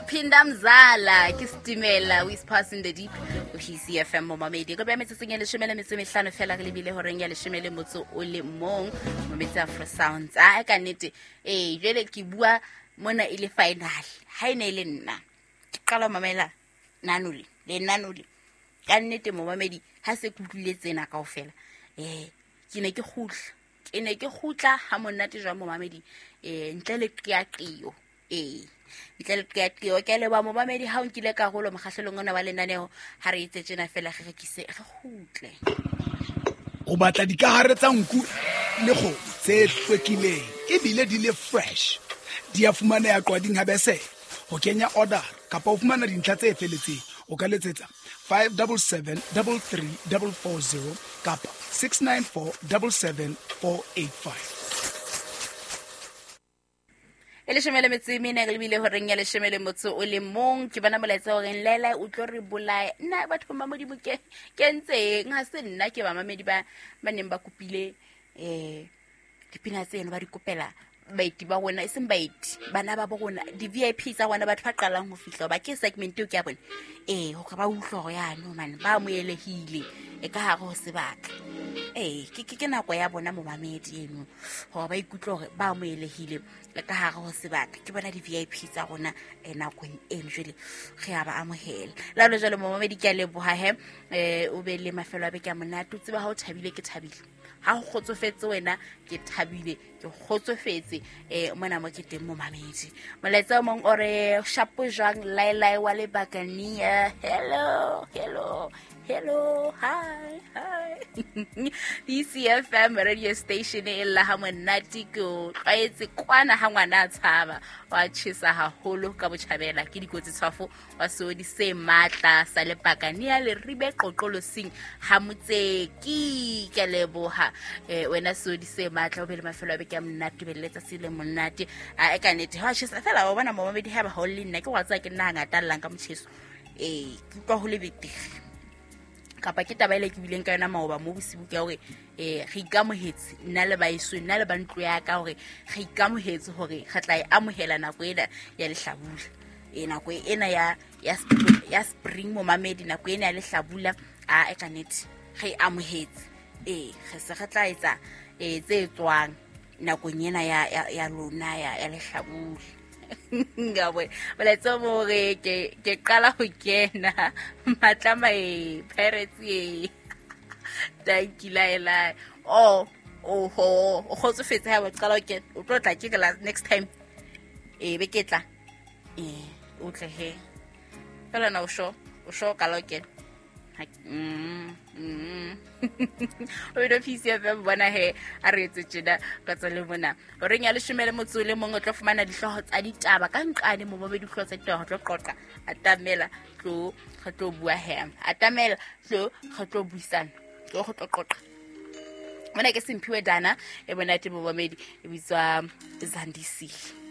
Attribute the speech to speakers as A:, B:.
A: Phinda mzala ke setimela o is passing the deep o hisi fm momamedi re beya metsotsong ya leshome le metso e mehlano fela re lebile horeng ya leshome le motso o le mong mometsi afro sounds. A ka nnete ee, jwale ke bua mona e le final. Ha e ne e le nna ke qala ho mamela nanole le nanole ka nnete momamedi, ha se ke utlwile tsena kaofela, ke ne ke kgutla, ke ne ke kgutla ha monate jwang momamedi, ntle le qeaqeo. Ee, ntle le qeaqeo. Ke a leboha momamedi ha o nkile karolo mokgahlelong ona wa lenaneo. Ha re etse tjena fela, re rekise, re kgutle.
B: O batla dikahare tsa nku le kgomo tse hlwekileng ebile di le fresh, di a fumaneha Qwading ha Besele. Ho kenya order kapa ho fumana dintlha tse feletseng, o ka letsetsa 577 33440 kapa 694 77485.
A: E leshome le metso e mene re lebile horeng ya leshome le motso o le mong. Ke bona molaetsa horeng lele o tlo re bolaya nna batho ba Modimo. Ke ntseng ha se nna ke bamamedi ba ba neng ba kopile dipina tseno, ba di kopela baeti ba rona, e seng baeti, bana ba bo rona, di-VIP tsa rona, batho ba qalang ho fihla ba ke segment eo ke ya bone, ee, hore ba utlwe hore yano mane ba amoelehile e ka hare ho sebaka. Ee, ke nako ya bona momamedi eno hore ba ikutlwe hore ba amoelehile le ka hare ho sebaka. Ke bona di-VIP tsa rona nakong eno, jwale re a ba amohela lalo jwale momamedi. Ke a leboha he, o be le mafelo a beke a monate. O tseba ha o thabile ke thabile, ha o kgotsofetse wena ke thabile, ke kgotsofetse mona mo ke teng momamedi. Molaetsa o mong o re shapo jwang laelae wa lebakania. Hello, hello, hello, hi, hi. BCFM radio station e lla ha monate, ke o tlwaetse kwana ha ngwana a tshaba wa tjhesa haholo ka botjhabela. Ke dikotsi tshwafo wa seodi se matla sa lepakania leribe qoqolosing ha motseki. Ke a leboha wena seodi se matla, o be le mafelo a beke a monate, o be le letsatsi le monate. A e ka nnete ha tjhesa fela wa bona momamedi, ha ba ha o le nna ke wa tseba ke nna hangata llang ka motjheso. Ee, ke utlwa ho le betere kapa ke taba ele ke bileng ka yona maoba mo bosibu, ke hore re ikamohetse nna le baeso, nna le ba ntlo ya ka, hore re ikamohetse hore re tla e amohela nako ena ya lehlabula, nako ena ya spring momamedi, nako ena ya lehlabula. A e ka nnete re e amohetse, ee, re se re tla etsa tse tswang nakong ena ya lona ya lehlabula. Ngabona molaetsa o mo re ke qala ho kena matlama e Pirates e tanki laelae o oho o kgotsofetse ha o qala ho kena, o tlo tla ke la next time e be ke tla o tle he fela na o sho o sho qala ho kena. O ile PCFM bona he a re etse tjena ka tsa le mona horeng ya leshome le motso le mong o tlo fumana dihlooho tsa ditaba ka nqane mo bobe dihlooho tsa ditaba. Re tlo qoqa, atamela tlo re tlo bua he, atamela tlo re tlo buisana, tlo re tlo qoqa mona. Ke Semphiwe Dana e monate momamedi, e bitswa Zandisile.